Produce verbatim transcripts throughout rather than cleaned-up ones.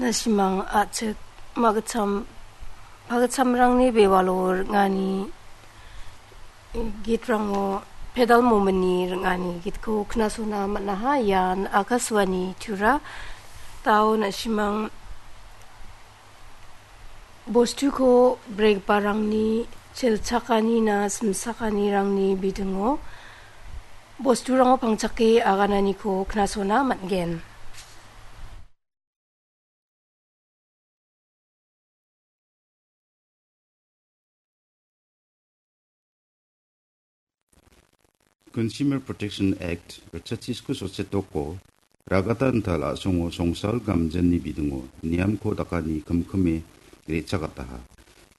Na·simang a·chik magitcham pagitchamrangni bewalo ring·ani gitrango pedal momentni ring·ani gitko knasona man·aha. Ian Akashvani Tura. Dao na·simang bostuko bregiparangni chelchakanina simchakanirangni bidingo bosturango pangchake agananiko knasona man·gen. Consumer Protection Act ritchatisko sotsetoko ragata intal a·songo songsal gamjanni bidingo niamko dakani kimkime re·chakataha.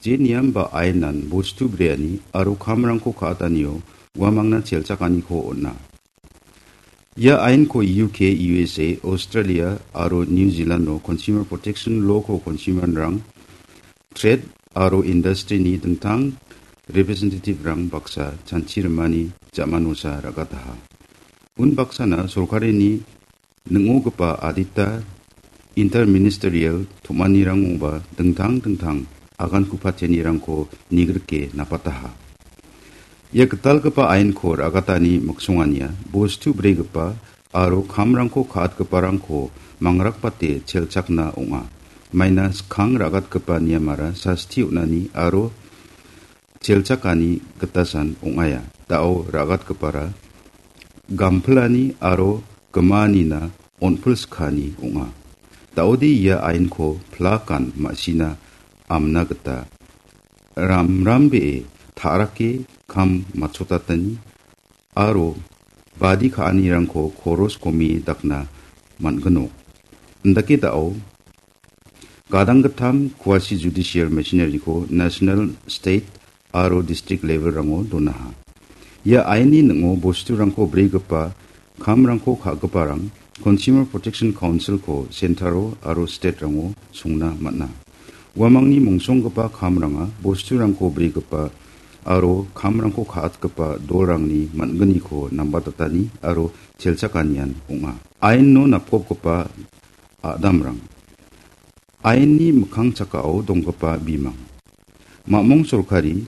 Je niam ba ainan bostu breani aro kamrangko ka·atanio uamangna chelchakaniko on·a. Ia ainko U K, U S A, Australia aro New Zealand-o Consumer Protection Law-ko consumer-rang, trade aro industry-ni dingtang representative-rang baksa chanchi rimani jamanosa ragataha. Unbaksana sorkarini ning·ogipa adita interministerial tom·anirangoba dingtang dingtang agan ku·patenirangko nigrike napataha. Ia gitalgipa ainko ra·gatani miksongania bostu bregipa aro kamrangko ka·atgiparangko mangrakbate chelchakna ong·a. Maina skang ra·gatgipa niamara sasti on·ani aro chelchakani gitasan ong·aia. Da·o ra·gatgipara gampilani aro gimaanina on·pilskani ong·a. Da·ode ia ainko plakan ma·sina amna gita ramrambee ta·rake kam matchotatani aro badi ka·anirangko koros komie dakna man·ginok. Indake da·o gadang gittam quasi judicial machinery-ko national, state aro district level-rango donaha. Ia ainni ning·o bosturangko bregipa kamrangko ka·giparang Consumer Protection Council-ko centre-o aro state-rango songna man·a. Uamangni mongsonggipa kamranga bosturangko bregipa aro kamrangko ka·atgipa dolrangni man·gniko nambatatani aro chelchakanian ong·a. Aino napgopgipa a·damrang. Ainni mikkang chakao donggipa bimang. Ma·mong sorkari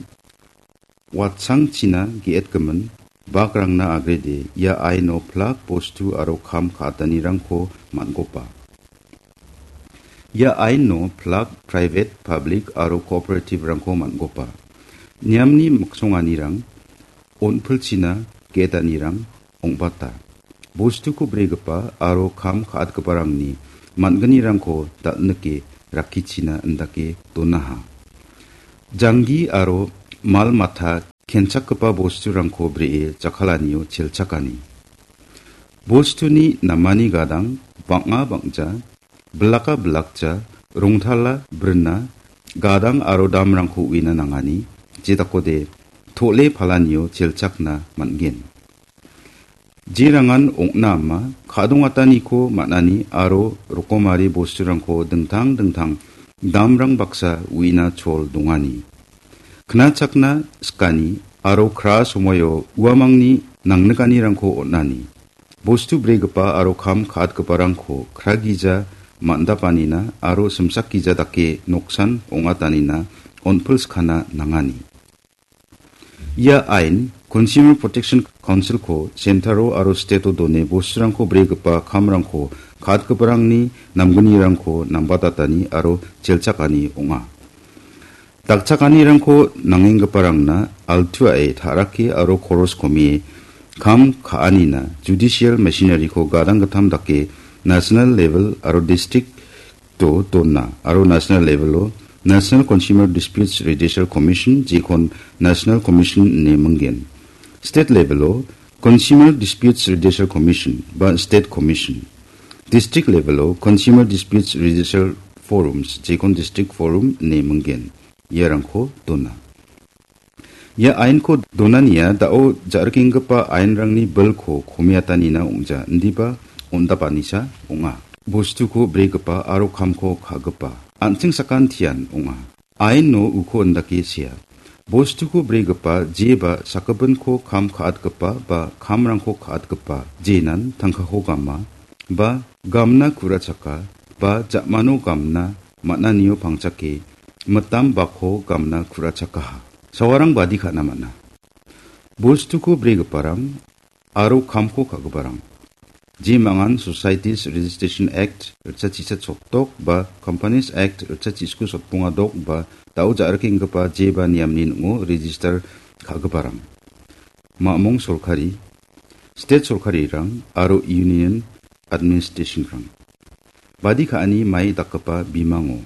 watsangchina ge·etgimin bakrangna agrede ia aino plak bostu aro kam ka·atanirangko man·gopa. Ia aino plak private, public aro cooperative-rangko man·gopa. Niamni miksonganirang, on·pilchina ge·etanirang ong·bata. Bostuko bregipa aro kam ka·atgiparangni man·gnirangko dal·nike rakkichina indake donaha. Janggi aro mal mata kenchakgipa bosturangko bree jakkalanio chelchakani. Bostuni namani gadang bang·a bang·ja, bilaka bilakja, rongtala brina, gadang aro damrangko uina nangani, jedakode to·le palanio chelchakna man·gen. Jerangan ong·na ama, ka·dongataniko man·ani aro rokomari bosturangko dingtang dingtang damrang baksa uina chol dongani. Knachakna sikani aro kra somoio uamangni nangnikanirangko on·ani. Bostu bregipa aro kam ka·atgiparangko kragija man·dapanina aro simsakgija dake noksan ong·atanina on·pilskana nangani. Ia ain Consumer Protection Council-ko centre-o aro state-o done bosturangko bregipa kamrangko ka·atgiparangni namgnirangko nambatatani aro chelchakani ong·a. Dakchakanirangko nangenggiparangna altuae ta·rake aro koros komie kam ka·anina judicial machinery-ko gadang gittam dake national level aro district-o dona aro national level-o National Consumer Disputes Redressal Commission, jekon National Commission ine mingen. State level-o Consumer Disputes Redressal Commission ba State Commission. District level-o Consumer Disputes Redressal Forums, jekon District Forum ine mingen. Iarangko dona. Ia ainko donania da·o ja·rikenggipa ainrangni bilko komiatanina ong·ja, indiba on·dapanisa ong·a. Bostuko bregipa aro kamko ka·gipa an·ching sakantian ong·a. Aino uko indake sea. Bostuko bregipa jeba sakgipinko kam ka·atgipa ba kamrangko ka·atgipa jenan tangkako gama ba gamna ku·rachaka ba ja·mano gamna man·anio pangchake mitam bako gamna ku·rachakaha. Sawarang badi ka·na man·a. Bostuko bregiparang aro kamko ka·giparang. Jemangan Societies Registration Act ritchachisa sotdok ba Companies Act ritchachisku sotbongadok ba dao ja·rikenggipa jeba niamni ning·o register ka·giparang. Ma·mong sorkari, state sorkarirang aro union administrationrang. Badi ka·ani mai dakgipa bimango.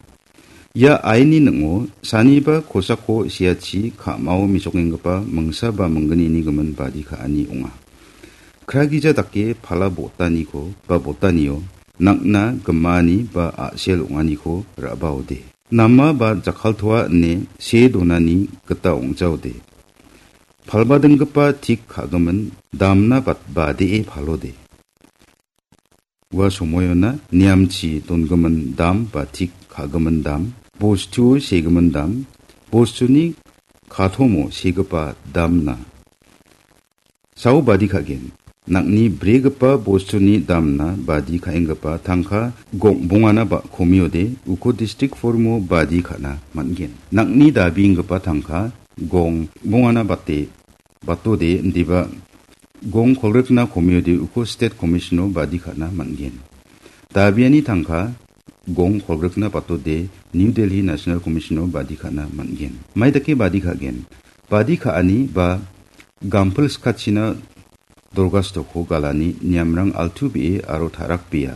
Ia aini ning·o saniba kosako siachi ka·mao mesokenggipa mingsa ba minggnini gimin badi ka·ani ong·a. Kragija dake pala botaniko ba botanio nang·na gimani ba a·sel ong·aniko ra·baode. Nama ba jakkaltoa ine see donani gita ong·jaode. Palbadinggipa tik ka·gimin damna bat-, badee palode. Ua somoiona niamchi donggimin dam ba tik ka·gimin dam, bostuo segimin dam, bostuni katomo segipa damna. Sao badi ka·gen. Nang·ni bregipa bostuni damna badi ka·enggipa tangka gong-, bongana ba komiode uko distrik formo badi ka·na man·gen. Nang·ni dabienggipa tangka gong-, bongana bate batode indiba gong kolgrikna komiode uko state commissiono badi ka·na man·gen. Dabiani tangka gong kolgrikna batode New Delhi National Commissiono badi ka·na man·gen. Mai dake badi ka·gen? Badi ka·ani ba gampil skachina dorgastoko galani niamrang altu be·e aro tarakbea.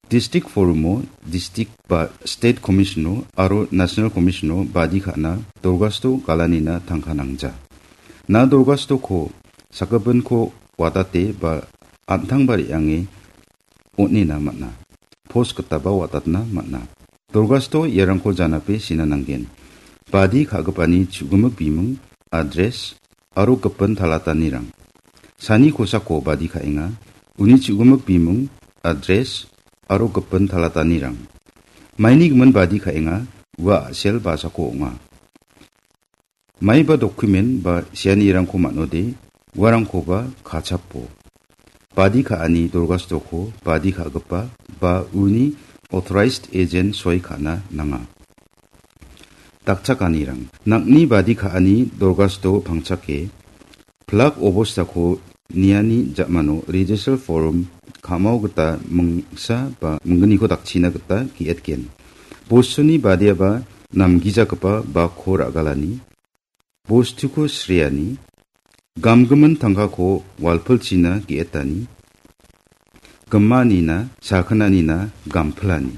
Distrik forumo distrik ba state commissiono aro national commissiono badi ka·na dorgasto galanina tangka nangja. Na dorgastoko sakgipinko watate ba an·tangba re·ange on·ena man·a. Pos gitaba watatna man·a. Dorgasto iarangko janape sina nanggen. Badi ka·gipani chu·gimik biming, adres, aro gipin talatanirang. Sani kosako badi ka·enga, uni chu·gimik biming, adres, aro gipin talatanirang. Maini gimin badi ka·enga, ua a·sel basako ong·a. Maiba dokumen ba sianirangko man·ode, uarangkoba kachapo. Badi ka·ani dorgastoko badi ka·gipa ba uni authorized agent soi ka·na nanga. Dakchakanirang. Nang·ni badi ka·ani dorgasto pangchake, plak obostako niani ja·mano register form ka·mao gita mingsa ba minggniko dakchina gita ge·etgen. Bostuni badiaba namgijagipa ba ko ra·galani, bostuko sreani, gamgimin tangkako walpilchina ge·etani, gimanina, sakinanina gampilani.